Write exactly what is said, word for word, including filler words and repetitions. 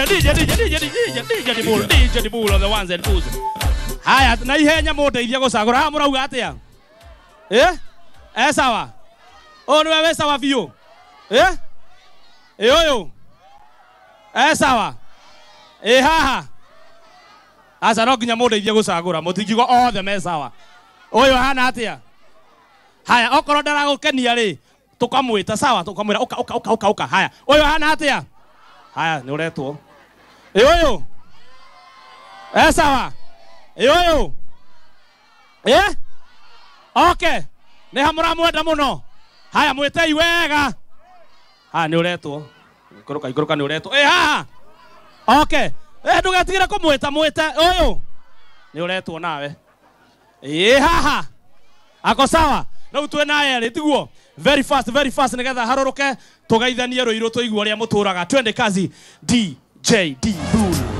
D J D J D J D J D J Dibul D J Dibul on the ones and twos. Haya na ihenya mũndeithie gũcagũra. Haha mũrauga atĩa? Eh? Eh sawa. Ũyũ nĩwe wĩ sawa biũ. Eh? Ĩ ũyũ. Eh sawa. Ĩ haha. Aca no nginya mũndeithie gũcagũra. Mũtingiuga othe me sawa. Ũyũ ahana atĩa? Haya okorwo ndaragũkenia rĩ, tũkamwĩta sawa, tũkamwĩra ũka ũka ũka ũka ũka. Haya, ũyũ ahana atĩa? Haya, nĩ ũretwo. Ĩ ũyũ. Eh sawa. Ĩ ũyũ. Eh? Okay. Nĩ ha mũramwenda mũno? Haya mwĩtei wega. Haya nĩ ũretwo. Ikũrũka ikũrũka nĩ ũretwo. Ĩ haha. Okay. Eh ndũgetigĩre kũmwĩta mwĩte ũyũ. Nĩ ũretwo nawe. Ĩ haha. Ako sawa. Rĩu twĩ na erĩ tiguo. Very fast very fast nĩgetha harũrũke tũgeithanie rũirũ tũigue ũrĩa mũtũraga. Twende kazi D J Dibul.